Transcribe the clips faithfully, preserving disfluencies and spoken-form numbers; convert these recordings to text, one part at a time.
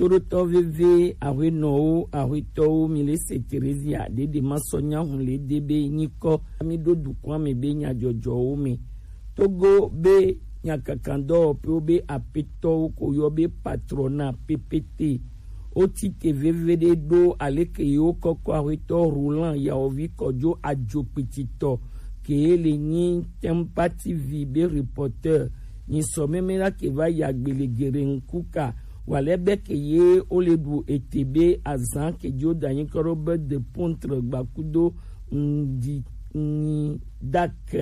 Toɖotɔ veve, ahuenɔwo, ahuetɔwo, mi le se Teresia ɖeɖe ma sɔ nya hun le de be nyikɔ mi ɖo dukɔa me be nyajɔjɔwo me. Togo be nyakakandɔwɔƒewo be apetɔwo ko yɔ be patrona P P T. Wo tite veve ɖe ɖo aleke yewo kɔkɔ ahuetɔ Roland Yawovi Kɔjo ajokpititɔ ke le nyi Tempa T V be reporter nyi sɔ meme la ke va ya gbele gere ŋkuka. Wa lɛ be ke ye wo le ɖu ete be azan ke jo da nyi kɔ ɖo be de pontre gbakudo ŋdi nyi dak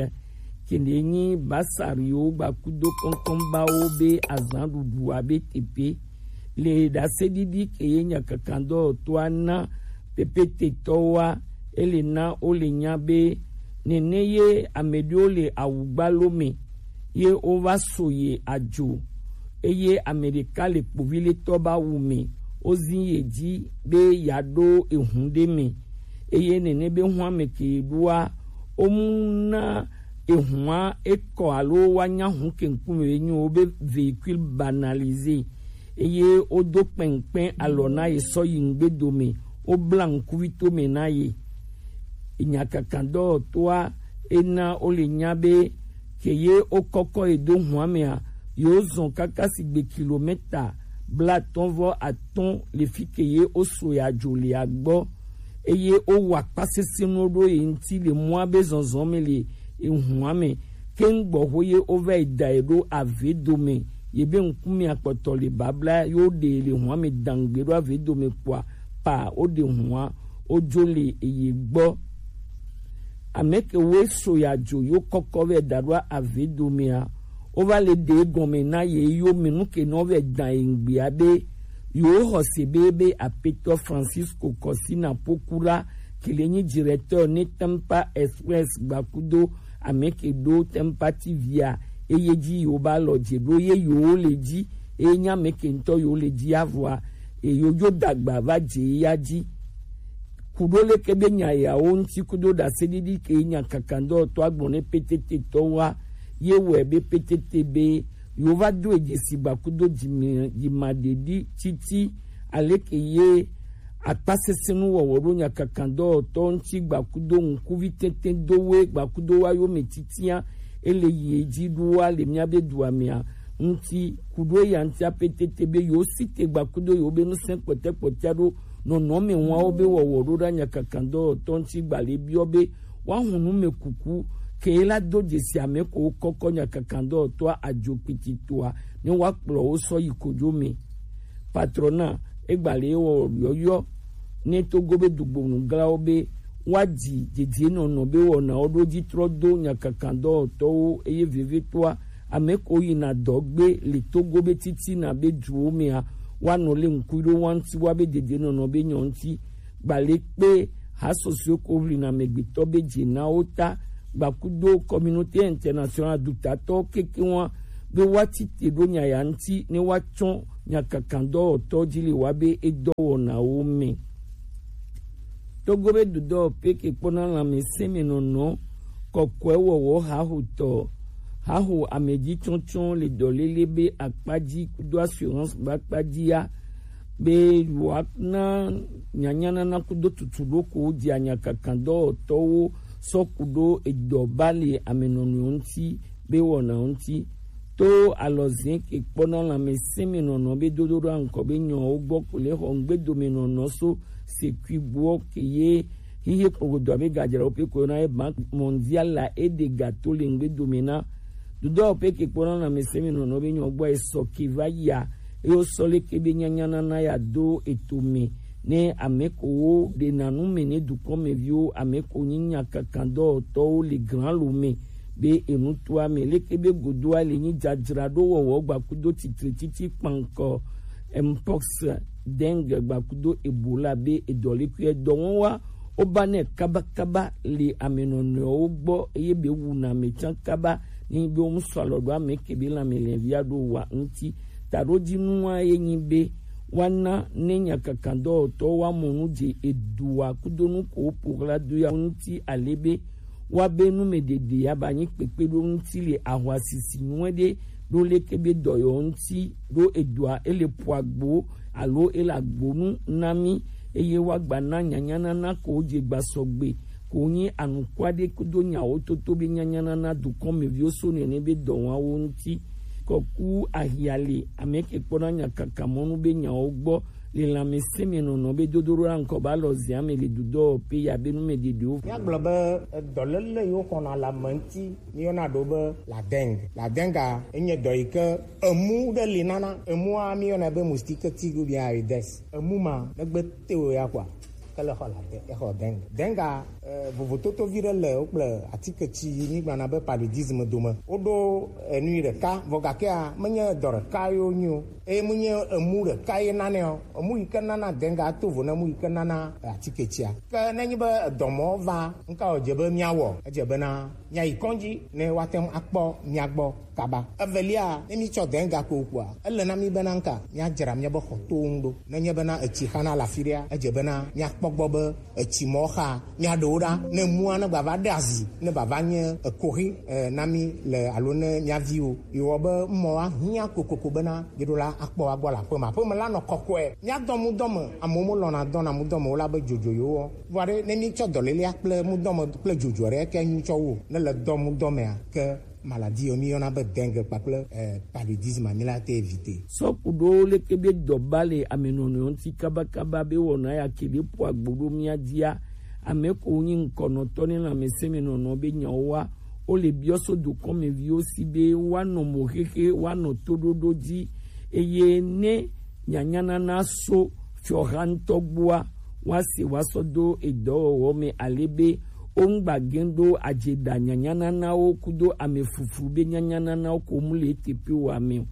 kende nyi basariwo gbakudo kɔnkɔnbawo be azan ɖuɖu abe tepe le ɖaseɖiɖi ke ye nyakakandɔwɔtɔa na P P T tɔwoa, ele na wo le nya be nene ye ame ɖewo le awugbalo me ye wova so ye adzo, eye ame ɖeka le kpoviletɔ ba wu me, wozi ye dzi be yeaɖo ehun ɖe me, eye nene be hua me ke ɖoa, womu na ehua ekɔ alo woanya hu ke ŋkume ye nyo wo be véhicule banalisé, eye wodo kpɛnkpɛn alɔ na ye sɔ yi ŋgbedome, wobla ŋkuvitome na ye. Nyakakandɔwɔtɔa ena wo le nya be ke ye wokɔkɔ ye do hua mea, yewo zɔn kaka sigbe kilomɛta blatɔn vɔ atɔn le fi ke ye woso ya dzo le agbɔ, eye wowa akpa sesẽ nuwo ɖo ye ŋuti le mɔa be zɔzɔ me le ehua me. Ke ŋgbɔ ho ye wova yi da ye ɖo ave dome, ye be ŋkume akpɔtɔ le babla, ye woɖe ye le hua me dangbe ɖo ave dome kpoa, pa woɖe hua wodzo le eye gbɔ. Ame ke woe so ya dzo yo kɔkɔ vɛ da ɖo ave domea, wova le ɖe gɔme na ye yo me nu ke nɔ vɛ dan ye ŋgbea be yo xɔse be be apetɔ Francisco Kɔsina Pokura ke le nyi directeur ne Tempa Express gbakudo ame ke ɖo Tempa T V a, eye dzi yo ba lɔ dze ɖo ye yo le dzi, eye nya me ke ŋutɔ yo le dzi avɔa, eyo yo dagba va dze ya dzi. Kuɖo leke be nya yawo ŋuti kudo ɖaseɖiɖi ke nya kakandɔtɔ agblɔ ne P T T tɔwoa, ye wɔe be P T T be yewo va do edzesi gba kudo dzime-, dzimaɖeɖi titi aleke ye akpasesẽnuwɔwɔ ɖo nya kakandɔtɔ ŋuti gba kudo ŋkuvi tete do we gba kudo wa yo me titia ele yi edzi ɖoa le mía be dua mea ŋuti kudo eya ŋutia P T T be yewo si te gba kudo yewo be ŋusẽ kpɔtɛkpɔtɛa ɖo nɔnɔme wawo be wɔwɔ ɖo ɖa nya kakandɔtɔ ŋuti gba le biɔ be woahu nu me kuku ke la do dzesi ame ko wokɔkɔ nya kakandɔtɔa adzo kpititoa ne woakplɔ wo sɔ yi kodzo me. Patrɔna egba le wɔ yɔyɔ ne Togo be dugbonu glawo be woadzi dedienɔnɔ be wɔnawo ɖo dzi trɔ do nya kakandɔtɔwo eye vevitɔa ame ko yina dɔ gbe le Togo be titina be duwo mea woanɔ le ŋkui ɖo wa ŋuti wa be dedienɔnɔ be nyɔ ŋuti. Gba le kpe hasɔsɔe ko ʋlina amegbetɔ be dze na wo ta gba kudo communauté internationale dutatɔ keke wa be woati te ɖo nya ya ŋuti ne woatsɔ nya kakandɔwɔtɔ dzi le wa be edɔwɔnawo me. Togo be dudɔ pe ke kpɔna lãmesẽ me nɔnɔ kɔkɔe wɔwɔ hahotɔ haho amedzi tsɔtsɔ le dɔlele be akpadzi kudo assurance be akpadzi ya be yewoana nyanyanana kudo tutuɖokowo dzi anya kakandɔwɔtɔwo sɔ ku ɖo edɔ ba le ame nɔnɔewo ŋuti be wɔnawo ŋuti. To alɔzẽ ke kpɔna lãmesẽ me nɔnɔ be dodo ɖo aŋkɔ be nyɔwo gbɔ ko le xɔ ŋgbedome nɔnɔ so sekui gbɔ ke ye hihe kpogodo abe gadzrawo pe ko yɔna ye Banque Mondiale la e ɖe ga to le ŋgbedome na dudɔ pe ke kpɔna lãmesẽ me nɔnɔ be nyɔ gbɔ esɔ ke va yia eye wosɔ leke be nyanyanana ya do eto me ne ame ko wo ɖe na nu me ne dukɔ me viwo ame ko nyi nya kakandɔtɔwo le gran lo me be enutoa me leke be godoa le nyi dzadzraɖo wɔwɔ gba kudo titre titi kpankɔ mpox dengue gba kudo ebola be edɔlekui edɔwɔwa woba nɛ kabakaba le ame nɔnɔewo gbɔ eye be wuna ame tsã kaba ni be wo mu sɔ alɔ ɖo ame ke be lãme lɛvia ɖo wa ŋuti. Taɖodzinua ye nyi be woana ne nyakakandɔwɔtɔwo woamɔ nu dze edua kudo nu ko woƒo ɣla do ya ŋuti ale be woabe numeɖeɖe ya ba nyi kpekpeɖo ŋuti le ahwasisi nyuie ɖe ɖo leke be dɔ yɔ ŋuti ɖo edɔa ele po agbo alo ele agbonu na mí, eye woagba na nyanyanana ko je gba sɔgbe ko nyi anukua ɖe kudo nyawo toto be nyanyanana dukɔmeviwo so nene be dɔwawo ŋuti. Kɔku ahia le ame ke kpɔna nyakaka mɔnu be nyawo gbɔ le lãmesẽ me nɔnɔ be dodo ɖo na ŋkɔ ba lɔ zia me le dudɔ pe ya be nu me ɖeɖewo. Míagblɔ be edɔléle yiwo xɔna le ame ŋuti míyɔna ɖo be la dengue. La dengue enye dɔ yi ke emu ɖe li nana. Emua míyɔna be moustique tigre ou bien Aedes. Emu ma negbe te o ya kɔa, ke le xɔ la de exɔ dengue. Dengue eh, vovototo vi ɖe le wo kple atike tsi yi mígblɔna be paludisme dome. Woɖo enu yi ɖeka vɔ gakea menye dɔ ɖeka yo nyi o. Eye menye emu ɖeka ye nane o. Emu yi ke nana dengue ato vo ne emu yi ke nana eh, atike tsia. Ke nenye be edɔmɔ va, nka wòdze be míawɔ? Edze bena míayi kɔdzi ne woate ŋu akpɔ mía gbɔ kaba. Evelia, ne mítsɔ dengue ko kpɔa, ele na mí bena nka míadzra míabe xɔtowo ŋu ɖo. Nenye bena etsi xana le afi ɖea, edze bena míakpɔ gbɔ be etsi mɔ xa míaɖewo ɖa, ne emua ne gbava ɖe azi, ne bava nye ekoxi eh, na mí le alo ne mía viwo. Yewɔ be mɔ ahiã kokoko bena yeɖo la akpɔ agbɔ le aƒeme. Aƒeme la nɔ kɔkɔe. Míadɔ mudɔme, amewo melɔ̃na dɔna mudɔme o la be dzodzo yewo wɔ. Vɔ ɖe ne mítsɔ dɔlélea kple mudɔme kple dzodzo ɖe ke nyitsɔ wo ne le dɔ mudɔmea ke maladie yiwo míyɔna be dengue kpakple eh, paludisme mi la te éviter. Sɔ ku ɖo leke be dɔba le amenɔnɔ ŋuti kabakaba be wɔna ya ke ɖe ƒo agbo ɖo mía dzia, ame ko nyi ŋkɔnɔtɔ ne lãmesẽ me nɔnɔ be nyawo wa, wo le biɔ so dukɔmeviwo si be woanɔ mo xexe, woanɔ toɖoɖo dzi, eye ne nyanyanana so fiɔha ŋutɔ gbɔa, woase woasɔ do edɔwɔwɔ me ale be woŋgba gẽ ɖo adzeɖa nyanyananawo kudo ame fuflu be nyanyananawo ko mu le eteƒe wa me o.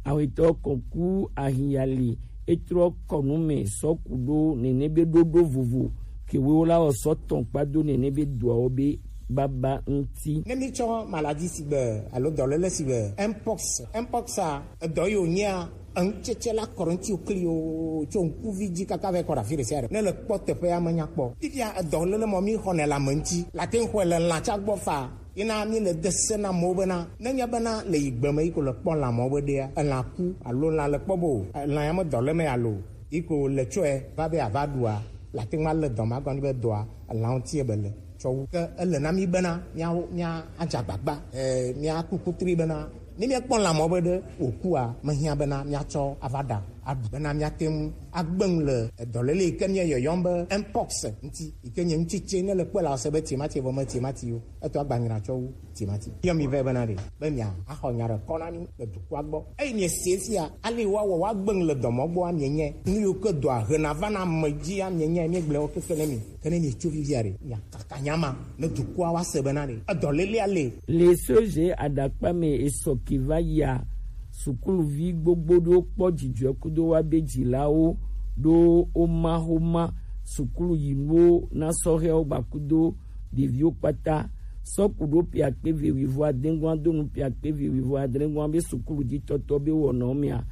Awetɔ kɔku ahiya li etrɔ kɔnu me sɔ ku ɖo nene be ɖoɖo vovo kewo la wɔ sɔ tɔn kpa do nene be doawo be baba ŋuti. Ne mi tsɔ maladie sigbe alo dɔléle sigbe mpox, mpox a edɔ yi wònyea eŋutsetse la kɔ ɖe ŋuti wòkli o tso ŋkuvi dzi kaka va yi kɔ ɖe afi ɖe sia ɖe. Ne le kpɔ teƒea menya kpɔ. Fifia edɔléle mɔ mi xɔnɛ le ame ŋuti. Late ŋu xɔe le lãtsa gbɔ fa. Yina mi le de se na amewo bena, nenye bena le yi gbe me yi ko le kpɔ lã mɔ be ɖea, elã ku alo lã le kpɔ bo, elã ya me dɔ le me alo yi ko le tsɔe va be ava ɖua, late ŋu ale dɔ ma gɔni be dɔa, elã ŋuti ebe le tsɔ wu. Ke ele na mi bena, mía, mía adze agbagba, eh, mía ku kutri bena, ne míakpɔ lã mɔ be ɖe wòkua, mehiã bena míatsɔ ava ɖa aɖu bena míate ŋu agbe ŋu le edɔléle yi ke míeyɔyɔm be mpox ŋuti, yi ke nye ŋutsitse ne le kpɔe la ɔse be timati vɔ me timati yo. Etɔ agbanyra tsɔ wu timati. Yɔ mi vɛ bena ɖe, be mia axɔ nya ɖe kɔ na mi le dukɔa gbɔ. Eyi mie se fia, ale woawɔ woagbe ŋu le dɔmɔ gbɔa mienye. Nu yiwo ke dɔa hena va na ame dzia mienye, miegblẽ wo keke ne mi. Ke ne mietso fifia ɖe, miakaka nya ma ne dukɔa woase bena ɖe edɔlélea le. Le C G aɖakpa me esɔ ke va yia, sukuluvi gbogbo ɖewo kpɔ dzidzɔe kudo woabe dzilawo ɖo woma xoma sukulu yinuwo na sɔhɛwo gba kudo ɖeviwo kpata. Sɔ ku ɖo ƒe akpe eve wuivo adre goa do nu ƒe akpe eve wuivo adre goa be sukulu dzi tɔtɔ be wɔnɔ mea,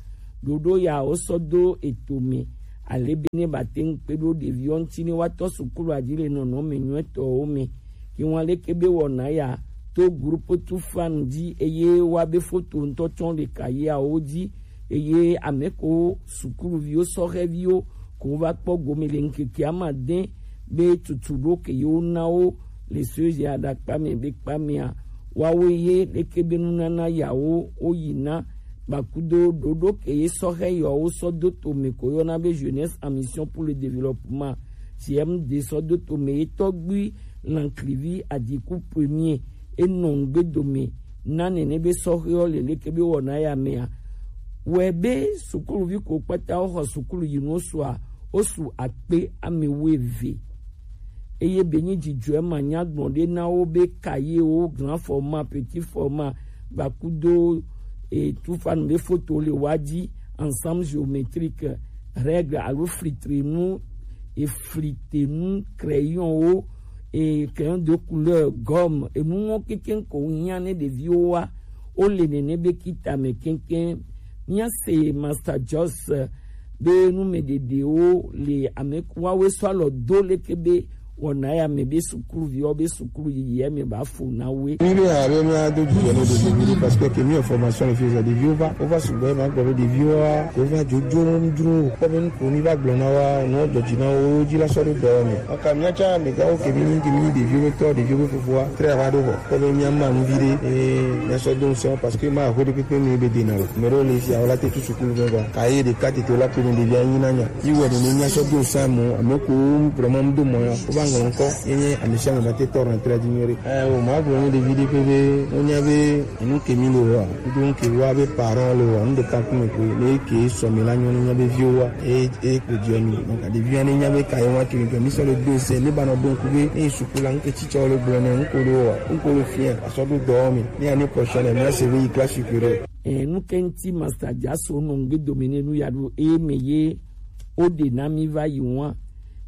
ɖoɖo ya wosɔ do eto me ale be ne ba te ŋu kpe ɖo ɖeviwo ŋuti ne woatɔ sukulu adzi le nɔnɔme nyuitɔwo me. Ke ŋu aleke be wɔna ya to groupe tu fan dzi eye woabe foto ŋutɔ tsɔ le kayeawo dzi eye ame ko sukuluviwo sɔhɛviwo ko va kpɔ gome le ŋkeke amade be tutu ɖo ke yewo na wo le soja aɖakpa me be kpa mea, woawo ye leke be nunana yawo woyina gbakudo ɖoɖo ke ye sɔhɛ yawo sɔ do tome ko yɔna be Jeunesse en Mission pour le Développement, G M D, sɔ do tome ye tɔgbui Lanklivi Adiku premier enɔ ŋgbe dome na nene be sɔhɛwo le leke be wɔna ya mea. Wɔe be sukuluvi ko kpata woxɔ sukulu yi nuwo sua, wosu akpe ame wuieve. Eye be nyi dzidzɔe ma nya gblɔ ɖe na wo be kayewo, grand format, petit format, gbakudo e, tufanu be foto le wa dzi, ensemble géométrique, règle alo flitrenu, e, flitenu, crayonwo, e, crayon de couleur, gomme, enuwo kekeŋ ko hiã ne ɖeviwo wa, wo le nene be kita me kekeŋ. Mía se Master Joss be numeɖeɖewo le ame wawoe sɔ alɔ do leke be wɔna ya me be sukuluviwo be sukulu yiyi ya me ba fo na we. Mi be ha be mi ado dzidzɔ ne ɖevi ɖe parce que ke mi formation le fi zɔ ɖeviwo va wova sugbɔ ma gbɔ be ɖeviwo wa wova dzodzom dro kpɔ be nuko mi va gblɔ na wa nu dɔ dzi na wo dzi la sɔ ɖo dɔ me. Ɔka mi atsa me gawo ke mi ni ke mi ɖeviwo be tɔ ɖeviwo be fofoa tre va ɖo vɔ kpɔ be mi ama nu vi ɖe eh mi asɔ do ŋsɔ parce que ma ho ɖe kpekpe mi be de na o. Me ɖo le fi awo la te tu sukulu be va ka ye ɖeka tete la pe mi ɖevi anyi na nya. Yi wɔ nene míasɔ do sa mo ame ko vraiment do mɔ ya ko va ŋlɔ ŋkɔ ye nye ame sia ame ba te tɔ rentrer di nyuie ɖe. Eh o ma gblɔ ne ɖevi ɖe ƒe be wonya be enu ke mi le wa kudo ŋke wa be parent le wa nu ɖeka ku me ko ne ke sɔ mi la nyɔ ne nya be viwo wa e e ko di mi donc ɖevi ne nya be ka ye wa ke mi mi sɔ le do se ne ba nɔ do ŋku be ne suku la ŋke tsitsɔ le gblɔ ne ŋko le wa ŋko le fia asɔ do dɔ mi ne année prochaine mi ase be yi classe supérieure. Enu ke ŋuti Master Jaso nɔ ŋgbe dome ne nu ya ɖo eye me ye woɖe na mi va yi ŋua.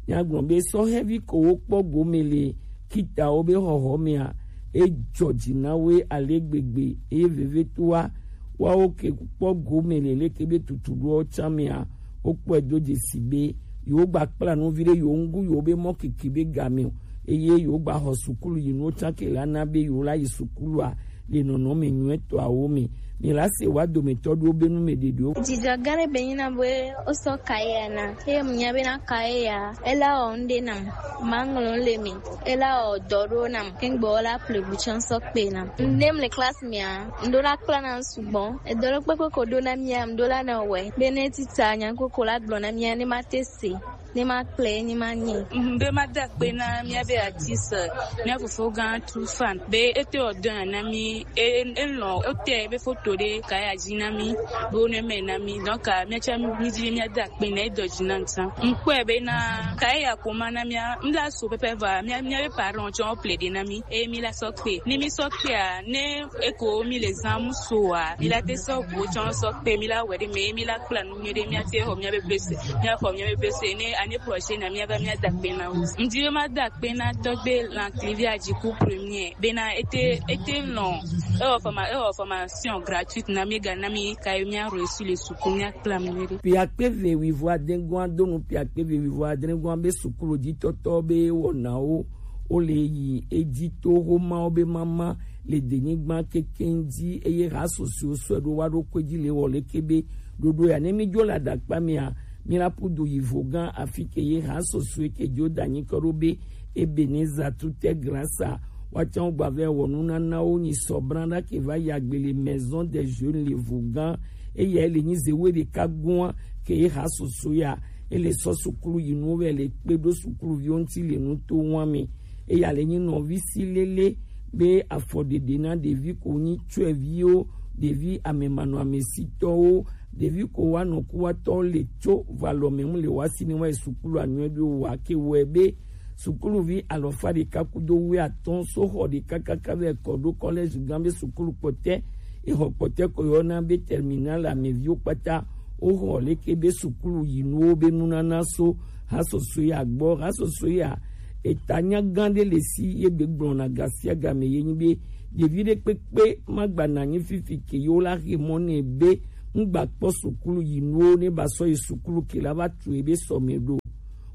Míagblɔ be sɔhɛvi ko wokpɔ gome le kitawo be xɔxɔ mea, edzɔ dzi na wo ale gbegbe eye vevetoa woawo ke kpɔ gome le leke be tutuɖoawo tsã mea, wokpɔe do dzesi be yewo gba kpla nu vi ɖe yewo ŋu yewo be mɔ keke be game o eye yewo gba xɔ sukulu yi nuwo tsã ke la na be yewo la yi sukulua le nɔnɔme nyuietɔawo me. Mi la se wa dometɔ ɖewo be nu me ɖeɖewo. Dzidzɔ gã ɖe be nyina be wosɔ kaye ya na. Eye mu nya be na kaye ya, ela wɔ nu ɖe nam. Ma ŋlɔ le me. Ela wɔ dɔ ɖo nam. Kengbe wɔ la ple bu tsɔ sɔ kpe nam. Ne mu le classe mea, ŋɖo la kpla na sugbɔ. Edɔ ɖe kpekpe ko ɖo na mia, ŋɖo la na wɛ. Be ne tita nya koko la gblɔ na mia, ne ma te se. Ne ma kple ne ma nye. Mhm, be ma da kpe na mia be artiste, mia fofo gã Trufan. Be ete o dɔn na mi, e e lɔ o te be foto de ka ya ji na mi, be o ne me na mi. Donc ah, mia cha mi ji mia da kpe na e do ji na nta. Nkwe be na ka ya ko ma na mia, mla so pepe va, mia mia be parents cho ple de na mi. E mi la so kpe. Ni mi so kpe a, ne e ko mi le zan mu so a. Mi la te so bo cho so kpe, mi la we de me, mi la kpla nu mi de mia te ho mia be blessé. Mia ho mia be blessé ne année prochaine mia va mia da kpe na o. Ndi ma da kpe na tɔgbe Lantivi Ajiku premier. Bena ete ete lɔ. E o forma e o formation gratuite na mi ga na mi ka mia reçu le suku mia kpla mi de. Piakpe ve wivo adengoa donu piakpe ve wivo adengoa be sukulu di tɔtɔ be wɔnawo. Wo le yi edzi to Romawo be mama le denyigba kekeŋ dzi eye ha susɔe sɔe ɖo wa ɖo koe dzi le wɔ leke be ɖoɖo ya ne mi dzo le adakpa mea mi la ƒu du yi vo gã afi ke ye ha susɔe ke dzo da nyi kɔ ɖo be Ebenezer tute grasa wa tsã wo gba vɛ wɔ nunanawo nyi sɔ bran ɖa ke va yi agbe le maison des jeunes le vo gã eya le nyi ze wo ɖeka gua ke ye ha susɔe ya ele sɔ sukulu yi nuwo vɛ le kpe ɖo sukuluviwo ŋuti le nuto wa me. Eya le nyi nɔvi si lele be afɔɖeɖe na ɖevi ko nyi tsɔeviwo, ɖevi amemanɔamesitɔwo, ɖevi ko wa nɔkuwatɔwo le tso valɔ me ŋu le wa si ne wa yi sukulu anyɔe ɖo wa ke wɔe be sukuluvi alɔfa ɖeka kudo wuiatɔ̃ so xɔ ɖeka kaka vɛ kɔ ɖo kɔlɛzi gã be sukulu kpɔtɛ exɔ kpɔtɛ ko yɔna be terminal ameviwo kpata woxɔ leke be sukulu yinuwo be nunana so ha sɔsɔe ya gbɔ ha sɔsɔe ya eta nya gã ɖe le si ye be gblɔna gasiagame ye nyi be ɖevi ɖe kpekpe magba nanyi fifi ke yewo la xe mɔ nɛ be ŋgba kpɔ sukulu yinuwo ne ba sɔ yi sukulu ke la va tu ebe sɔme ɖo.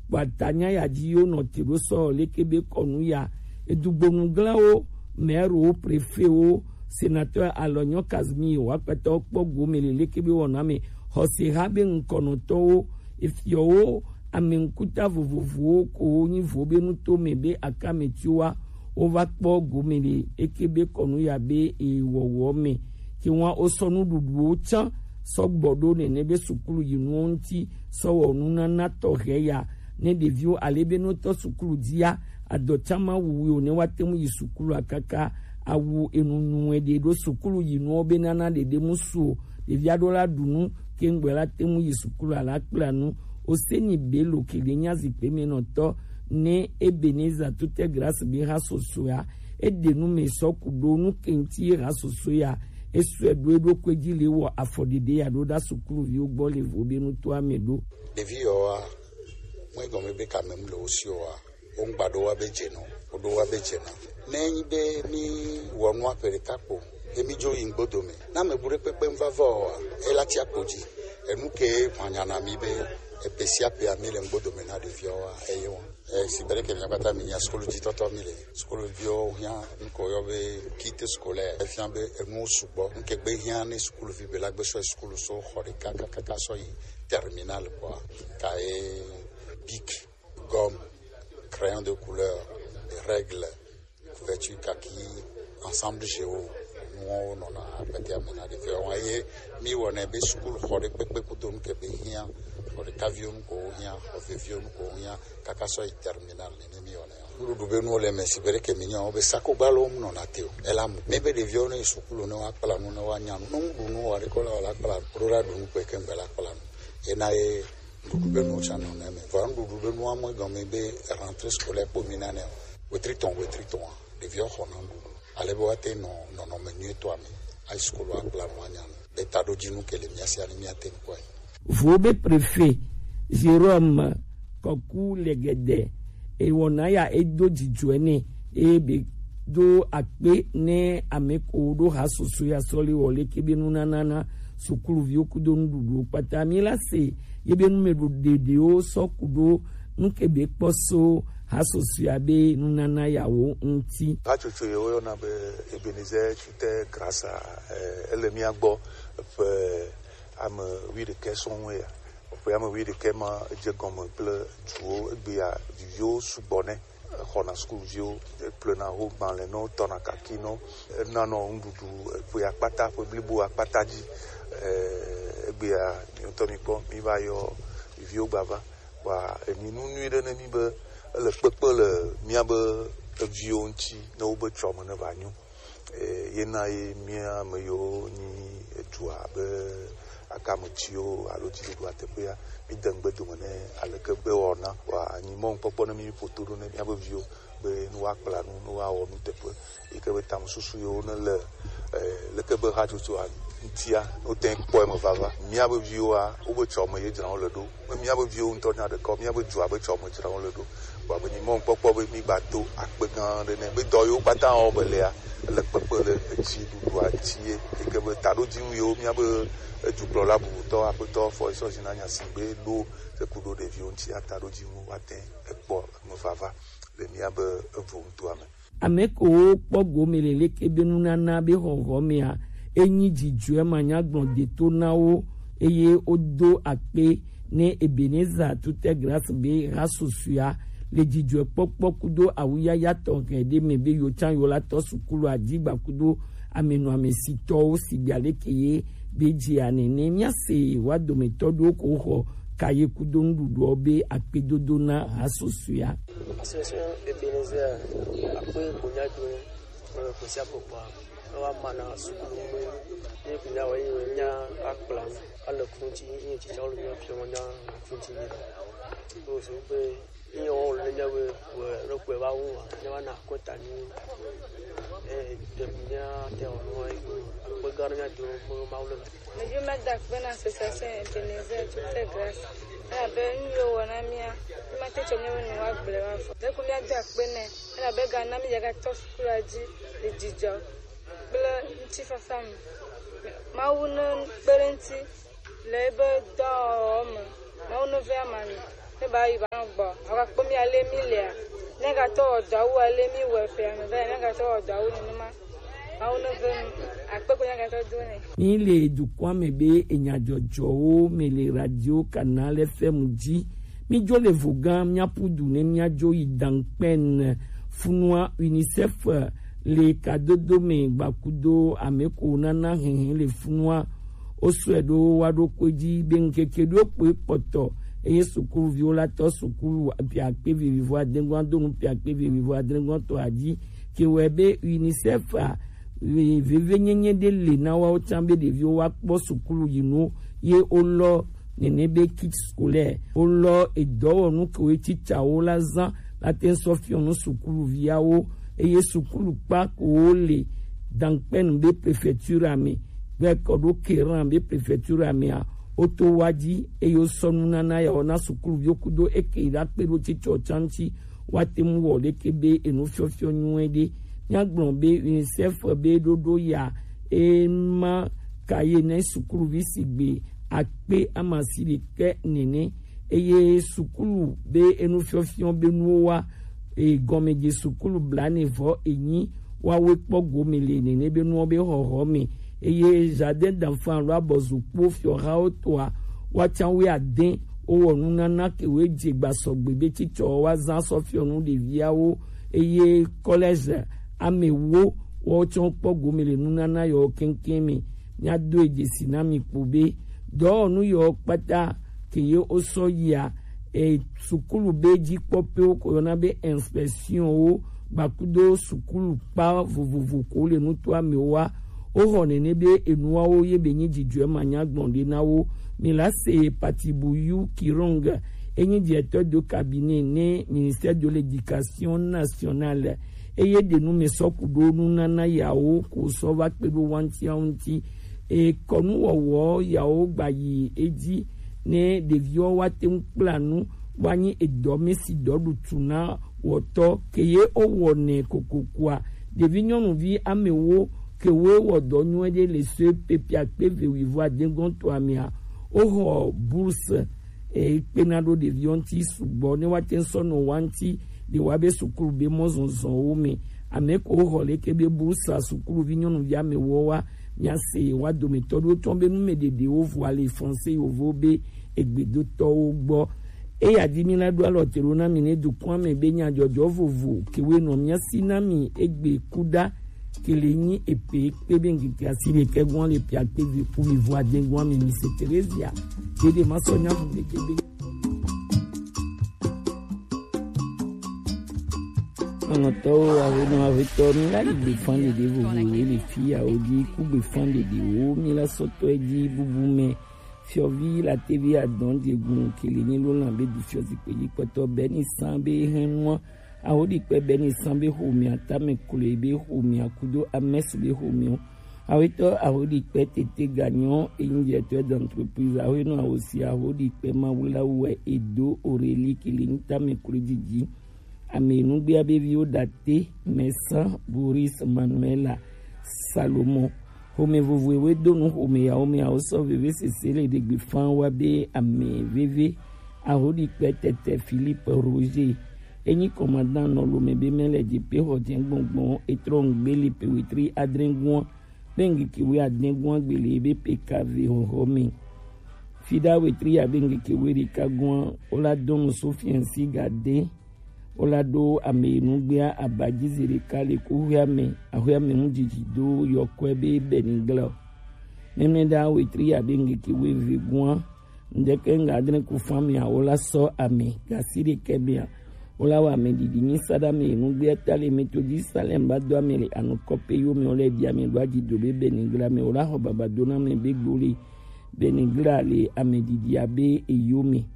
Gbata nya ya dzi yo nɔ te ɖo sɔ leke be kɔnu ya edugbonu glãwo mɛrowo prefewo senateur alɔnyɔ kazmi wakpɛtɔ kpɔ gome le leke be wɔna me xɔse ha be ŋkɔnɔtɔwo efiɔwo ame ŋkuta vovovowo ko wo nyi vo be nuto me be akametiwa wova kpɔ gome le eke be kɔnu ya be ewɔwɔ me ke wa wosɔ nuɖuɖuwo tsã sɔgbɔ ɖo nene be sukulu yinuwo ŋuti sɔ wɔ nunana tɔxɛ ya ne ɖeviwo ale be notɔ sukulu dzia adɔ tsã ma wuwu o ne woate ŋu yi sukulua kaka awu enu nyuie ɖe ɖo sukulu yinuwo be nana ɖeɖe mu su o ɖevia ɖo la ɖu nu keŋgbɛ la te ŋu yi sukulua la kpla nu. Oseni belo ke ɖe nya zikpe me nɔtɔ ne Ebenezer tute grâce be ha sosoea eɖe nu me sɔ ku ɖo nu ke ŋuti ye ha sosoea esɔe ɖo eɖokui dzi le wɔ afɔɖeɖe ya ɖo ɖa sukuluviwo gbɔ le vo be nutoa me ɖo. Ɖevi yɔa mɔ egɔme be kame mu le wo si oa wo ŋgba ɖo wa be dze nɔ wo ɖo wa be dze na ne enyi be mi wɔ nua ƒe ɖeka kpo ye mi dzo yi ŋgbodo me na ame bu ɖe kpekpe ŋva vɔ oa ela tia kpo dzi Enu ke hwanya na mi be epesiapea mi le ŋgbodo me na ɖeviawoa, eye wɔn. E, si be ɖeke mia kpata mi nya sukulu dzi tɔtɔ mi le. Sukulu viwo hiã nuko yɔ be kit scolaire. Efia be enuwo sugbɔ. Nuke gbe hiã ne sukulu vi be la gbe sɔ yi sukulu so xɔ ɖeka kakaka sɔ yi terminal kɔa, ka ye bic, gomme, crayon de couleur, règle, couverture kaki, ensemble géo, nuwo nɔna akpetea me na ɖeviawo. Eye mi wɔnɛ be sukulu xɔ ɖe kpekpe kudo nu ke be hiã, xɔ ɖeka viwo nu ko hiã, xɔ veviwo nu ko hiã, kaka sɔ yi terminal nene mi wɔnɛ. Nuɖuɖu be nuwo le me si be ɖeke mi nya wo be sakogba lo mu nɔna te o. Ela mu. Mi be ɖeviawo ne yi sukulu ne wa kpla nu ne wa nya nu. Ne ŋu ɖu nu wa ɖe ko la wa la kpla nu. Ɖo la ɖu nu kpe ke ŋgbe la kpla nu. Ena ye nuɖuɖu be nuwo tsã nɔ ne me. Vɔa nuɖuɖu be nuwo amɔ gɔme be rentrée scolaire kpo mi nane o. Wetri tɔn, wetri tɔn a, ɖeviwo xɔna nuɖuɖu. Ale be woate nɔ nɔnɔme nyuitɔ me. Ayi sukulu akpla nu anya nu. Be taɖodzinu ke le mia sia ne miate ŋu kpɔe. Vo be préfet Jérôme Kɔku Legede ewɔna ya edo dzidzɔe nɛ eye be do akpe ne ame ko ɖo ha soso ya sɔ le wɔ leke be nunana na sukuluviwo kudo nuɖuɖuwo kpata. Mi la se ye be numeɖoɖeɖewo sɔ ku ɖo nu ke be kpɔ so ha soso ya be nunana yawo ŋuti. Hatsotso ye woyɔna be Ebenezer Tute Grasa, eh, ele mia gbɔ ƒe ame wuiɖekɛ sɔŋ ya. Ƒe ame wuiɖekɛ ma edze gɔme kple duwo egbea viviwo sugbɔ nɛ. Exɔna sukuviwo, eƒlena ho gbalẽ no, tɔna kaki no, enanɔ nuɖuɖu eƒe akpata, ƒe blibo akpata dzi. Eh, egbea mi ŋutɔ mikpɔ, mi va yɔ viviwo gbava. Wa emi nu nyui ɖe ne mi be ele kpekpe le mía be eviwo ŋuti ne wobe tsɔme ne va nyo. Eh, ye na ye mía ame yiwo nyi edua be akametiwo alo dziɖuɖua teƒea, mi de ŋgbe dome ne aleke be wɔna wa anyi mɔnukpɔkpɔ ne mi ƒo to ɖo ne mía be viwo be ne woakpla nu, ne woawɔ nuteƒe yi ke be tamesusu yiwo ne le, eh, leke be hatsotsoa ŋutia, ne wote ŋu kpɔ eme vava. Mía be viwoa, wobe tsɔme ye dzram wole ɖo. Me mía be viwo ŋutɔ nya ɖeka o, mía be dua be tsɔme dzram wole ɖo. Vɔa be nyi mɔnukpɔkpɔ be mi gba do akpe gã aɖe nɛ. Be dɔ yiwo katã wɔ be lea, ele kpekpe le edziɖuɖua ŋuti ye. Yi ke be taɖodzinu yiwo mía be edukplɔla bubutɔ, aƒetɔ Fɔisɔ Zina Nyasi be ɖo se ku ɖo ɖeviwo ŋutia, taɖodzinu woate ŋu ekpɔ eme vava le mía be evo ŋutoa me. Ame kewo kpɔ gome le leke be nunana be xɔxɔ mea, enyi dzidzɔe manyagblɔ deto na wo, eye wodo akpe ne Ebenezer Tute Grâce be ha susua le dzidzɔkpɔkpɔ kudo awuyaya tɔxɛ ɖe me be yewo tsã yewo la tɔ sukulu adigba kudo amenɔamesitɔwo sigbe aleke ye be dzia nene. Míase wa dometɔ ɖewo ko xɔ kaye kudo nuɖuɖuɔ be akpedodo na ha susua. Association Ebenezer akpe ko nya do me ko sia ko kwa. Wa mana sukulu me. Ni ko nya wa yi nya akpla. Ala kunti ni ti cha lu nya fi nya kunti ni. Ko so pe ni o le nya we we ro pe ba wo. Nya wa na ko ta ni. Eh, de nya te o no ai ko. Ko ga nya do mo ma wo le. Ɖeviwo mía da akpe na association Ebenezer Tute Grâce. Elabe nu yiwo wɔ na mía, mímate tsɔ míawo nɔewo agblɔe woavɔ. Ɖeko míado akpe nɛ, elabe egana mí yegatɔ sukulu la dzi le dzidzɔ kple ŋutifafa me. Mawu nekpe ɖe eŋuti le ebe dɔwɔwɔ me. Mawu neve ame anɔ. Ne ba yi ba gbɔ. Agakpɔ mí ale mí lea. Ne gatɔ wɔ dɔ wu ale mí wɔ ƒe ame va. Ne gatɔ wɔ dɔ wu nenema. Mawu neve nu. Akpe ko ne gatɔ do nɛ. Mí le dukɔa me be enyadzɔdzɔwo me le radio Canal F M dzi. Mí dzo le vo gã mía ƒu du ne mía dzo yi Dankpen funua UNICEF le kadodo me gbakudo ame ko nana hɛhɛ le funua. Wosɔe ɖo wa ɖo kpe dzi be ŋkeke ɖo kpe kpɔtɔ eye sukuviwo la tɔ sukulu ƒe akpe vivivo adegɔn do nu ƒe akpe vivivo adegɔn tɔ adzi ke wɔe be UNICEF a vevenyenye ɖe le na woawo tsã be ɖeviwo woakpɔ sukulu yi nu ye wolɔ nene be kit scolaire wolɔ edɔwɔnu kewo titsawo la zã la te ŋu sɔ fiɔ nu sukuluviawo eye sukulukpa kewo le Dankpen be prefecture me gbɛ kɔ ɖo Keran be prefecture mea woto wa dzi eye wosɔ nunana yawo na sukuluviwo kudo eke yi ɖa kpe ɖo titsɔ tsã ŋuti woate ŋu wɔ ɖeke be enufiɔfiɔ nyuie ɖe. Míagblɔ be UNICEF be ɖoɖo ya ema kaye ne sukuluvi sigbe akpe amasiɖekɛ nɛnɛ. Eye sukulu be enufiɔfiɔ be nuwo wa, e, gɔmedze sukulu blanevɔ enyi wa we kpɔ gome le nɛnɛ be nuwo be xɔxɔ me. Eye jardin d'enfant alo abɔzukpo fiɔhawo toa wa can we adɛn wowɔ nunana ke we dze gbasɔgbe be cicɔ wa zan sɔ fiɔ nu ɖeviawo. Eye collège amewo wɔ tsɔ kpɔ gome le nunana yɔ keŋkeŋ me. Míado e dzesi na mi kpo be dɔwɔnu yɔ kpata ke ye wosɔ yia, e, sukulu be dzikpɔkpɔwo ko yɔna be inspection wo gbakudo sukulu kpa vovovo ko le nutoa me wa. Woxɔ nɛnɛ be enuawo ye be nyi dzidzɔe manya gbɔn ɖe na wo. Mi la se Patibuyu Kirong, enyi directeur de cabinet ne ministère de l'éducation nationale. Eye ɖe nu me sɔ ku ɖo nunana yawo ko sɔ va kpe ɖo wantia ŋuti. E kɔnu wɔwɔ yawo gba yi edzi ne ɖeviwo wa te ŋu kpla nu wa nyi edɔ me si dɔ ɖu tu na wɔtɔ ke ye wo wɔ nɛ kokokoa. Ɖevi nyɔnuvi amewo ke wo wɔ dɔ nyuie ɖe le so pepia kpe ve wi vo adegɔn to amea. Wo xɔ bourse e kpena ɖo ɖeviwo ŋuti sugbɔ ne woate ŋu sɔ nɔ wa ŋuti ɖe wa be sukulu be mɔzɔzɔwo me. Ame ko xɔ leke be bourse sukuluvi nyɔnuvi amewo wa, mia se wa dometɔ ɖewo tɔn be nu me ɖeɖewo vɔ le français yovo be egbedotɔwo gbɔ. Eya di mi la ɖo alɔ te ɖo na mi ne dukɔa me be nyadzɔdzɔ vovo ke we nɔ mia si na mi egbe kuda ke le nyi epe kpe be ŋkeke asiɖekɛ gɔn le pia kpe vi ku mi vo adegɔn mi mi se Terezia. Ɖeɖe ma sɔ nya fu ɖeke be. Aŋɔtɔwo, awenɔ, avetɔ, mi la yi gbefan ɖeɖe vovovowo le fi yawo dzi ku gbefan ɖeɖewo mi la sɔtɔ edzi bubu me. Fiɔvi la tevi adɔn diegun kele nyi lo lan be du fiɔ zikpe dzi kpɔtɔ bɛ ni san be hɛn nua. Aho ɖi kpɛ bɛ ni san be xomia tame klo be xomia kudo amɛsu be xomia. Awetɔ aho ɖi kpɛ tete ganyɔ enyi directeur d'entreprise aho enɔ aho si aho ɖi kpɛ mawulawu wɛ edo oreli kele nyi tame klo dzidzi. Ame nugbea be viwo ɖate, Mɛsa, Boris, Manuela, Salomo. Xome vovoewe do nu xome yawo me awo sɔ veve sese le ɖegbe fan wa be ame veve. Ahoɖikpe tete Philippe Roger. Enyi kɔmadan nɔ lome be mɛ le jepe xɔ jɛ gbɔngbɔn etrɔ ŋgbe le pe wetri adre gua be ŋgeke we adre gua gbele be pe kave xɔxɔ me. Fida wetri ya be ŋgeke we ɖeka gua wola dɔnu so fiɛnsi gade. Wola ɖo ame nugbea abaji zi ɖeka le kuxeame axeame ŋu dzidzi do yɔkɔe be Benigla. Mɛmɛɖa wetri ya be ŋgeke weve gua ŋdeke ŋga adre ku fami awo la sɔ ame gasi ɖekɛ mea. Wola wɔ ame ɖiɖi nyi saɖa me nugbea ta le mito dzi salem ba do ame le anukɔpe yo me wole ɖi ame ɖo aji do be Benigla me wola xɔ baba do na me be gbo le Benigla le ame ɖiɖi abe eyo me.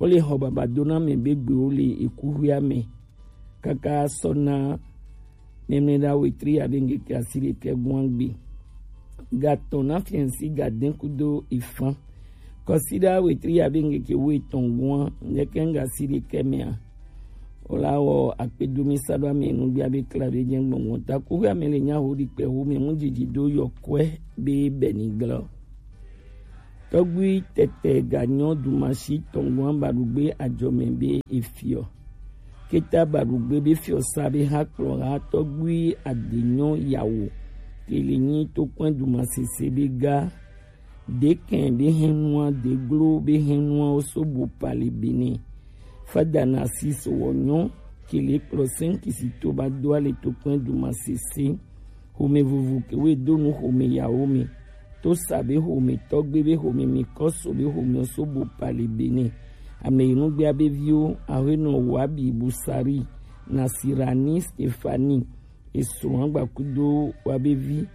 Wole xɔ baba do na mɛ be gbewo le ekuxuia me kaka sɔ na mɛmɛɖa wetri abe ŋkeke asi ɖekɛ gua gbe. Gatɔn na fiɛnsi gadɛn kudo ifan. Kɔsiɖa wetri abe ŋkeke wo etɔn gua ŋkeke ŋga asi ɖekɛ mɛa. Wola wɔ akpedomi saɖo ame nugbia be kla be jɛ gbɔngbɔn ta kuxuia me le nya ho ɖi kpɛ ho me mu dzidzi do yɔkɔe be Benigla. Tɔgbui tɛtɛ ganyɔ dumasi tɔngɔn baɖugbe ajɔmɛ be efiɔ. Keta baɖugbe be fiɔ sa be ha kplɔ ha tɔgbui adenyɔ yawo. Kele nyi tokpɛn dumasese be ga. Dekɛn be hɛnua deglo be hɛnua wo so bo pali bene. Fada Narcisse wɔ nyɔ kele kplɔ sɛn kisito ba do ale tokpɛn dumasese. Xome vovo ke we do nu xome yawo me. To sa be xome tɔgbe be xome mi kɔso be xome so bo pali bene. Ame yi nugbea be viwo ahenɔ wabi busari Nasirani Stefani. Esrɔ̃a gbakudo wa be vi.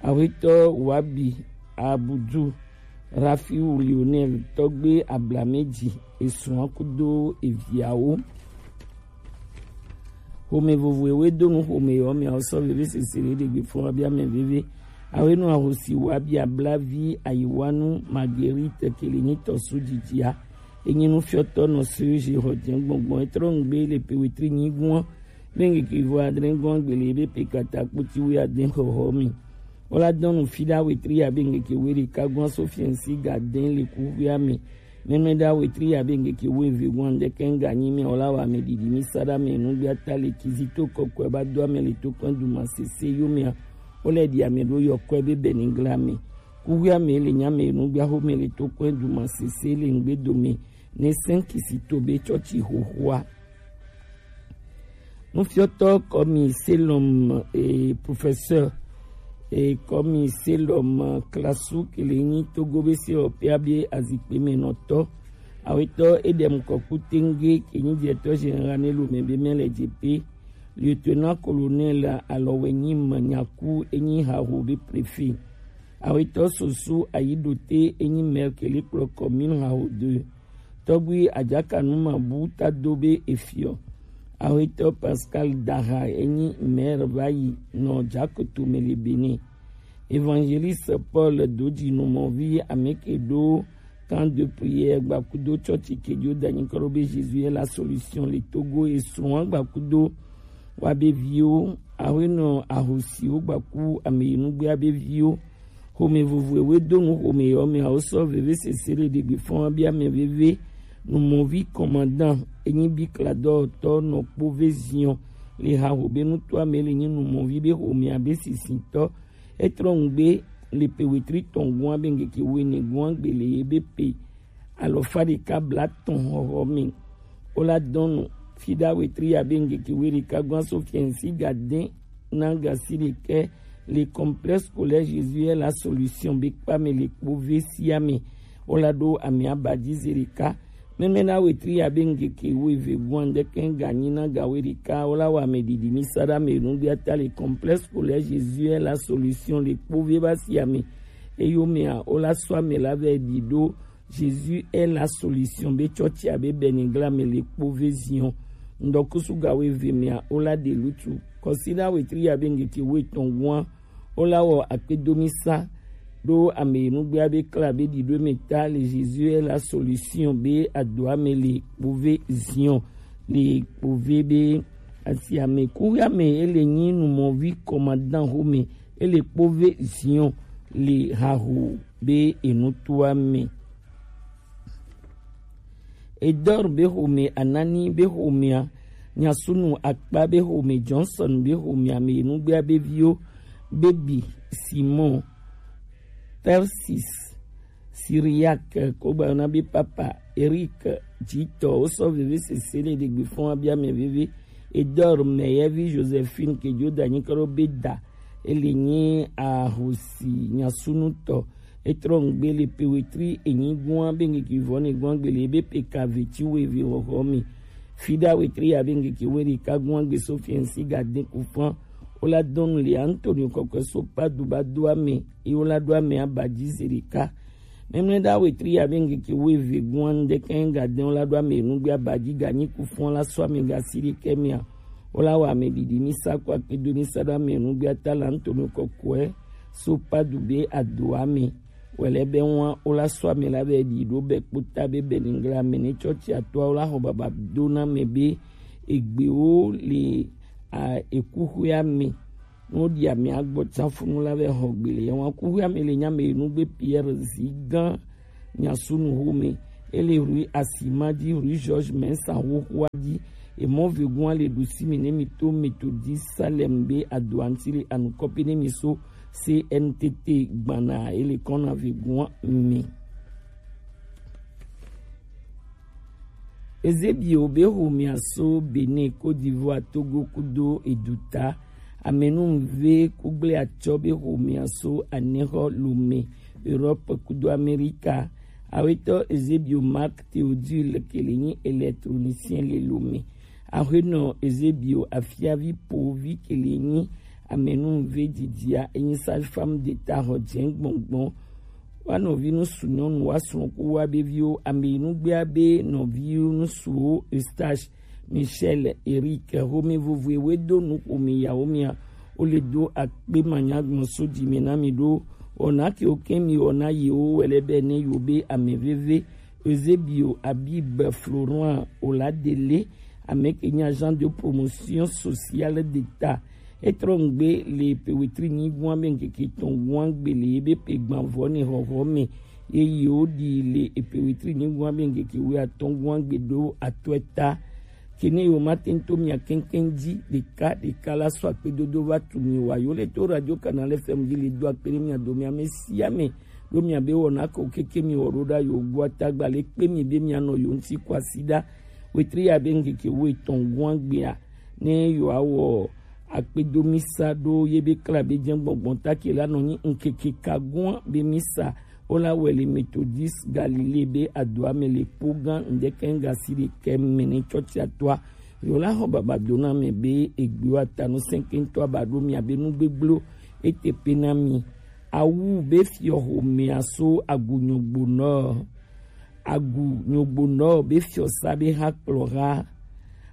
Ahetɔ wabi abudu Rafiu Lionel tɔgbe ablameji esrɔ̃a kudo eviawo. Xome vovoewe do nu xome yɔ mea sɔ veve sese le ɖegbe fún abia mɛ veve. Awe nu ahosi wa bia blavi ayiwanu Marguerite kele nyi tɔsu dzidzia. Enyi nufiɔtɔ nɔ Serge xɔ jɛ gbɔngbɔn etrɔ ŋgbe le pewetri nyi gua. Be ŋkeke vo adre gɔn gbele be pe kata kpoti wi adre xɔxɔ mi. Wola dɔn nu fi ɖa wetri abe ŋkeke we ɖeka gɔn so fiɛnsi ga dɛn le kuxuia me. Mɛmɛ ɖa wetri abe ŋkeke we ve gɔn ɖe kɛn ga nyi mɛ wola wa mɛ ɖiɖi mi sa ɖa mɛ nu gbia ta le kizi to kɔkɔe ba do ame le to kɔn du ma sese yo mɛ. Wole ɖi ame ɖo yɔ kɔe be bɛnigla me. Kuxuia me le nya me nu gbia ho me le to kɔn du ma sese le ŋgbe do me. Ne sɛn kisi to be tsɔtsi xoxoa. Nufiɔtɔ kɔmi selɔm e professeur e kɔmi selɔm klasu kele nyi togo be se ɔpia be azikpe me nɔtɔ awetɔ edem kɔku tenge ke nyi diɛtɔ general ne lo me be mɛ le dzepe lieutenant colonel alɔwɛ nyi manyaku enyi haho be préfet awetɔ soso ayidote enyi maire kele kplɔ commune haho deux. Tɔgbi Adjakanu Mabu tado be efiɔ. Awetɔ Pascal Daha enyi maire va yi nɔ Dzakoto me le Benin. Évangéliste Paul Dodji Numɔvi ameke ɖo camp de prière gbakudo tsɔtsi kejo danyi kɔɖo be Jésus est la solution le Togo esuan gbakudo wa be viwo awenɔ ahosiwo gbaku ameyinugbea be viwo. Xome vovo ewe do nu xome yɔ mɛ awo sɔ veve sese le ɖegbe fɔn abi ame veve numɔvi kɔmandan enyi bi kladɔtɔ nɔ kpo ve ziɔn le ha xo be nuto ame le nyi numɔvi be xome abe sisitɔ etrɔ ŋgbe le pe wetri tɔn gɔn abe ŋkeke wene gɔn agbe le ye be pe alɔfa ɖeka blatɔn xɔxɔ me. Wola dɔn nu fi ɖa wetri abe ŋkeke we ɖeka gɔn so fiɛnsi ga dɛn na gasi ɖekɛ le complexe scolaire Jésus est la solution be kpa me le kpo ve sia me. Wola ɖo ame abadzi ze ɖeka. Mɛmɛ na wetri abe ŋkeke we ve gɔn ɖekɛ ga nyi na ga we ɖeka wola wa me ɖiɖi mi sa ɖa me nu gbia ta le complexe scolaire Jésus est la solution le kpo ve ba sia me. Eyo mea wola sɔ ame la vɛ ɖi ɖo Jésus est la solution be tsɔtsi abe bɛnigla me le kpo ve ziɔn. Ŋdɔkusu ga we ve mea wola ɖe lutu kɔsi ɖa wetri abe ŋkeke we tɔn gɔn wola wɔ akpedomisa ɖo ame nugbea be kla be ɖiɖo me ta le Jésus est la solution be adoa me le kpo ve ziɔn le kpo ve be asi ame kuɣi ame ele nyi numɔvi kɔmadan xome ele kpo ve ziɔn le haho be enutoa me. Edor be xome anani be xomea nyasunu akpa be xome Johnson be xomea me nugbea be viwo bebi Simon Tarsis Siriak kogbayɔna be papa Eric jitɔ wosɔ veve sese le ɖegbe fɔn abia me veve Edor mɛyɛvi Josephine kejo danyi kɔɖo be da ele nyi ahosi nyasunutɔ etrɔ ŋgbe le pe wetri enyi gɔn be ŋkeke vɔ ne gɔn gbele be pe ka veti we ve xɔxɔ mi fi ɖa wetri abe ŋkeke we ɖeka gɔn gbe so fiɛnsi ga de ku fɔn wola dɔn le Antonio kɔkɔe so pa du ba do ame eye wola ɖo ame abadzi ze ɖeka. Mɛmlɛ ɖa wetri abe ŋkeke we ve gɔn ɖekɛ ga de wola ɖo ame nugbe abadzi ga nyi ku fɔn la sɔ ame ga si ɖekɛ mea wola wa ame ɖiɖi mi sa kɔ akpedo mi sa ɖo ame nugbe ata la ŋtɔ me kɔkɔe so pa du be ado ame wɛlɛ bɛ ŋua wola sɔ ame la bɛ ɖi ɖo bɛ kpota be bɛ ningla ame ne tsɔtsi atoa wola xɔ baba do na ame be egbewo le a ekuxuia me. Ne woɖi amea gbɔ tsaƒunu la vɛ xɔ gbe le yɛn wa kuxuia me le nya me nugbe Pierre Zigan nyasunu xome. Ele rue Asima dzi, rue Georges Mensah xoxoa dzi. Emɔ vegoa le ɖusi mi ne mi to Methodist Salem be adoa ŋuti le anukɔpi ne mi so C N T T gbana ele kɔna vegoa me. Ezebio be xomea so Benin, Côte d'Ivoire, Togo kudo eduta. Amenuve kugble atsɔ be xomea so anexɔ Lomé, Europe kudo Amerika. Awetɔ Ezebio Marc Théodule ke le nyi électronicien le Lomé. Axwenɔ Ezebio Afiavi Povi ke le nyi amenuve didia enyi sage-femme d'État xɔ dze gbɔngbɔn. Wa nɔvi nusu nyɔnu wa srɔ̃ ku wa be viwo ame yi nugbea be nɔvi nusuwo Eustache, Michel, Eric, xome vovoe we do nu xome yawo mia wo le do akpe manya gbɔn so dzi me na mi ɖo. Wɔna ke wo kɛ mi wɔna yi wo wɛlɛ bɛ ne yo be ame veve Eusebio Abib Florent Oladele ame ke nye agent de promotion sociale d'État Etrɔ ŋgbe le pe wetri nyigun abe ŋkeke tɔn gun agbe le ebe pe gbanvɔ ne xɔxɔ me. Ye yewo ɖi le epe wetri nyigun abe ŋkeke wuiatɔn gun agbe ɖo atɔe ta. Kene yo ma tento mia kɛnkɛn ji ɖeka ɖeka la sɔ akpedodo va tu mi wa yo le to Radio Canal F M ji le do akpe ɖe mia do mia me sia me ɖo mia be wɔna ko keke mi wɔ ɖo ɖa yo gua tagba le kpe mi be mia nɔ yo ŋuti kwasi ɖa. Wetri abe ŋkeke wuietɔn gun agbea ne yo awɔ akpedo misa ɖo ye be kla be jɛ gbɔngbɔn ta ke la nɔ nyi ŋkeke kagun be misa wo la wɛ le Methodist Galilée be adoa me le kpo gã ŋdɛkɛ ŋga si ɖe kɛ mɛ ne tsɔtsi atɔa yo la xɔ baba do na me be egbewo atanu sɛnkɛntɔ aba ɖo mia be nu gbegbleo ete pe na mi. Awu be fiɔ xomea so agu nyogbo nɔ agu nyogbo nɔ be fiɔsa be ha kplɔ ha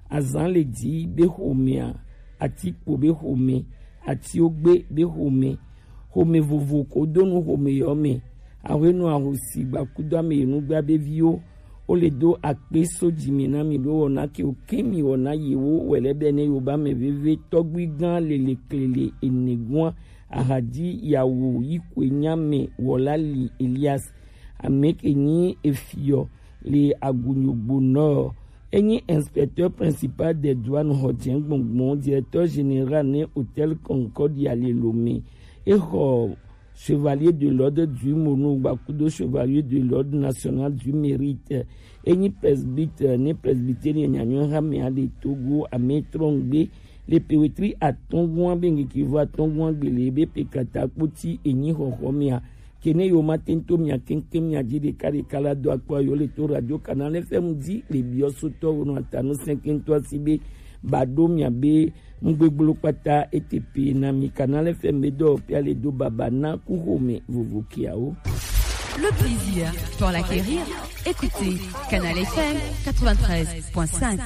azan le dzi be xomea atikpo be xome atiogbe be xome xome vovo ko do nu xome yɔ me. Ahwenu ahosi gbakudo ame yi nugba be viwo wo le do akpe so dzi mi na mi ɖo wɔna ke wo ke mi wɔna yewo wɛ lɛ bɛ ne yo ba me veve tɔgbui gã lele klele ene gua ahadzi yawo yi koe nya me wɔla li Elias ame ke nyi efiɔ le agunyogbo nɔ enyi inspecteur principal des douanes xɔ dze gbɔngbɔn directeur général ne hôtel Concordia le Lomé. Exɔ chevalier de l'ordre du Mono gbakudo chevalier de l'ordre national du mérite. Enyi presbytère ne presbytérien nyanyɔ hamea de Togo ame trɔngbe le pewetri atɔngua be ŋkeke vo atɔngua gbele be pe kata kpoti enyi xɔxɔ mea. Kene yo ma tento mia keŋkeŋ mia dzi ɖeka ɖeka la do akpɔ yo le to Radio Canal F M dzi le biɔ sotɔ wo no atanu sɛnkɛntɔ si be ba ɖo mia be nugbegblɔ kpata ete pe na mi. Canal F M be dɔ pia le do baba na ku xome vovo kiawo. Le plaisir pour l'acquérir. Écoutez Canal F M quatre-vingt-treize point cinq.